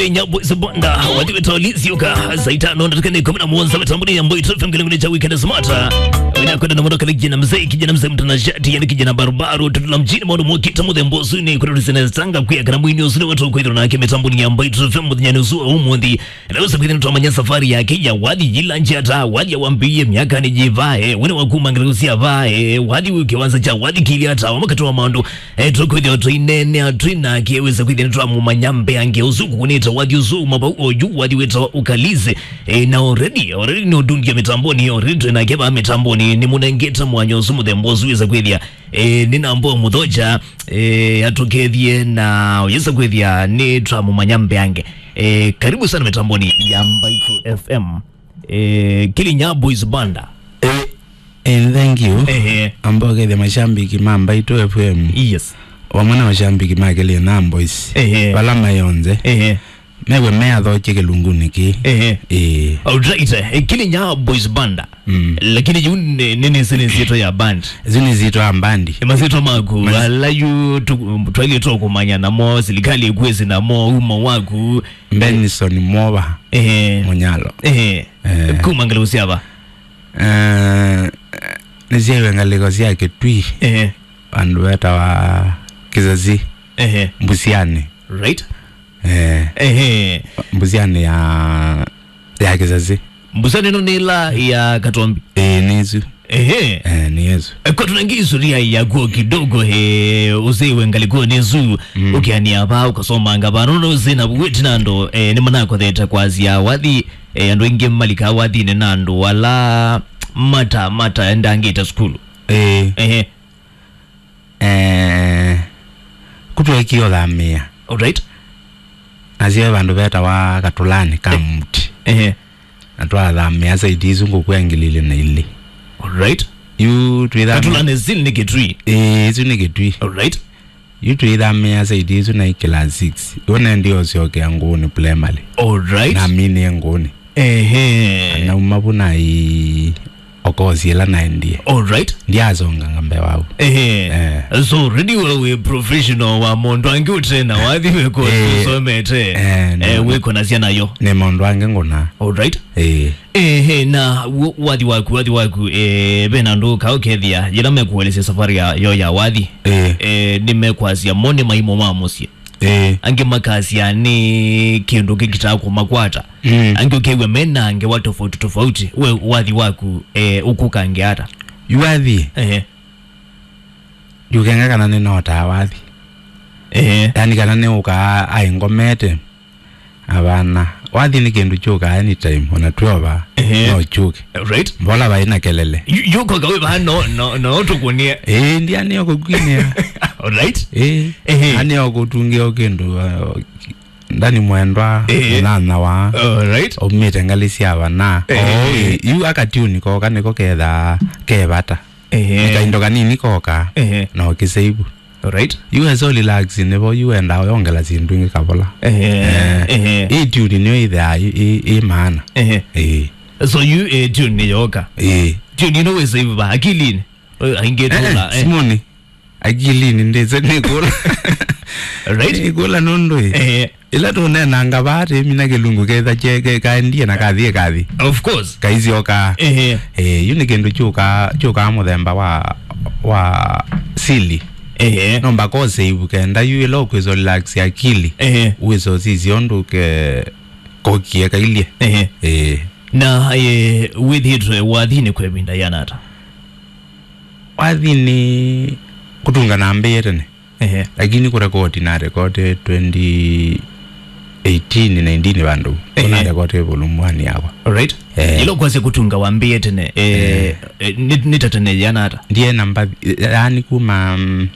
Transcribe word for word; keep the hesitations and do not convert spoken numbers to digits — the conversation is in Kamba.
Kenya Boys Banda, wathi wĩtawa Liz Yuka, saa itano na dakika ikũmi na mũonza mĩtamboni ya Mbaitũ F M kĩlungu cha Weekend Smart. Wĩna kwenda na mũndũ kali kijana mzee, kijana mzee mtanashati, yani kijana barubaru, tutula mjini maũndũ mokĩte mũthemba ũsu nĩ kũrĩa tũsene tanga kwĩa kana mwini ũsu nĩ watu kwĩthĩrwo nake mĩtamboni ya Mbaitũ F M mũthenya nĩ ũsu wa ũmũnthĩ. Na wĩsa kwĩthĩa nĩtwamanya safari yake ya wathi yĩla nzĩa ta wathi awambĩĩe myaka nĩ yĩvae, wene wa kuma ngeleku sya vae, wathi wĩ kĩwanza kya wathi kĩlya ta wa makati wa maũndũ. E, tũkwĩthĩwa tũineenea twĩ nake, wĩsa kwĩthĩa nĩtwamũmanya mbeange ũsu kũkũnĩte wathi ũsu uma vau oyu, wathi wĩtawa Ukalize. E, na already, already nĩ ũdungia mĩtamboni, already twĩ nake vaa mĩtamboni, nĩmũnengete mwanya ũsu mũthemba ũsu wĩsa kwĩthĩa. E, nĩ namba mũthocha, e, atũkethie na wĩsa kwĩthĩa nĩtwamũmanya mbeange. E, karibu sana mĩtamboni ya Mbaitũ F M. E, Kilinya Boys Banda. Eh, eh, thank you. Ehe. Amba ũkethĩa mashambiki ma Mbaitũ F M. Yes. Vamwe na mashambiki ma Kilinya Boys. Ehe. Vala maĩ onthe. Ehe. Mew'e meathokie kĩlungunĩ kĩĩ. Ehe. Eh. Alright, eh, Kilinya Boys Banda. Mm. Lakini yu nĩ, nĩ, nĩ, nĩ, nĩ nzito ya band. Yu nĩ nzito ya bandi. Nĩ mazito maku, ala yu tu-, twailĩtwe kũmanya namo, silikali ĩkwĩsĩ namo, uma waku. Benson Mova. Ehe. Mũnyalo. Ehe. Eh. Kuma ngeleku sya va? Eh, nĩsyaĩwe ngalĩko sya Kĩtui. Ehe. Vandũ vetawa Kĩsasi. Ehe. Mbusiani. Right. Eh. Ehe. Mbusiani ya, ya Kĩsasi. Mbusiani ĩno nĩ ĩla ya Katombi. Eh, nĩ ĩsu. Ehe. Eh, nĩ ĩsu. Eh, kwa tunangi historia yako kidogo, eh, ũsĩwe ngalĩkonĩ ĩsu, mm, ũkĩania vaa, ũkasomanga vaa, nũndũ ũsĩ na wĩti na andũ, eh, nĩ manakothete kwasya wathi, eh, andũ aingĩ malikaa wathinĩ na andũ ala mata, mata endangĩte sukulu. Eh. Ehe. Eh, kũtwekie ũthamĩa. Alright. Nasyo vandũ vetawa Katulani ka Mti. Ehe. Na twathamĩa saiti isu ngũkũ ya ngili ilĩ na ilĩ. Alright. Yu twĩthamĩa. Katulani still nĩ Kĩtui. Ĩĩ, isu nĩ Kĩtui. Alright. Yu twĩthamĩa saiti isu na class six. Yu nendi ũsyokea Ngũũnĩ primary. Alright. Na mini Ngũũnĩ. Ehe. Nauma vu nai okosi ĩla naendie. Alright. Ndiasonganga mbee wau. Ehe. Eh. So, already we wĩ professional wa mũndũ angĩ ũte na wathi wĩko, eh, ũsomete. Eh, eh, no. Wĩko na syana yo. Nĩ mũndũ angĩ ngũna. Alright. Eh. Ehe, na wo-, wathi waku, wathi waku, eh, ve na andũ kaũkethia, yĩla mekũelesya safari ya, yo ya wathi. Eh. Eh, nĩmekwasya mo nĩ maimo ma mũsyĩ. Eh. Angĩ makasya nĩ kĩndũ kĩkitaa kũmakwata. Mm. Angĩ ũkew'a me na ngewa tofauti tofauti. We wathi waku, eh, ũkũkange ata? Yu wathi? Ehe. Ndiũkenga kana nĩnotaa wathi. Ehe. Yani kana nĩũkaa aĩ ngomete. Avana. Wathi nĩ kĩndũ kyũkaa anytime, ona twova, ehe, no kyũke. Right. Mbola vai na kelele. Yu-, yukoka we vaa no, no, no tũkũnie. Ĩĩ, ndianĩo kũkwinĩa. Alright. Ĩĩ. Ehe. Anĩo kũtungĩa kĩndũ, uh, Ndani Mwendwa, ehe, mũnyanyawa. Alright. Aumĩte ngalĩ sya vana. Ehe. Oĩ, yu akatiuni koka nĩko kethaa ke vata. Ehe. Nĩ kaindo kanini koka, ehe, na ũkĩseivu. Alright. Yu e so relax, nĩvo yu endaa ũyongela syĩndũ ingĩ kavola. Ehe. Eh. Ehe. Ĩ tune nĩyo ĩthea ĩ, ĩ, ĩ maana. Ehe. Ĩĩ. So yu, eh, tune nĩyoka. Ĩĩ. Tune ĩno wĩ save va akilinĩ. Aingĩ tũla, eh, simũnĩ. Akilinĩ ndĩse nĩkũla. Right? Nĩkũla nũndũ ĩ. Ehe. Ĩla tũneenanga vaa tĩmina kĩlungu ketha kyeke kaendie na kathi kathi. Of course. Kaisyoka. Ehe. Eh, yu nĩ kĩndũ kyũkaa, kyũkaa mũthemba wa, wa sili. Ehe. No mbaka ũsave kenda yu ĩla ũkwĩsa relax akili. Ehe. Wĩsa ũsisya ũndũ ke kokie kailyĩ. Ehe. Eh. Na, eh, wĩthĩĩtwe wathinĩ kwa ĩvinda yĩana ata? Wathinĩ kũtunga nambĩĩe tene. Ehe. Lakini kũrekodi na rekodi twenty eighteen, nineteen vandũ. Ehe. Kũna rekodi volume one yakwa. Alright. Eh. Ĩla ũkwasya kũtunga wambĩĩe tene, eh, eh, nĩ, nĩ ta tene yĩana ata? Ndiye namba, yani kuma, mm,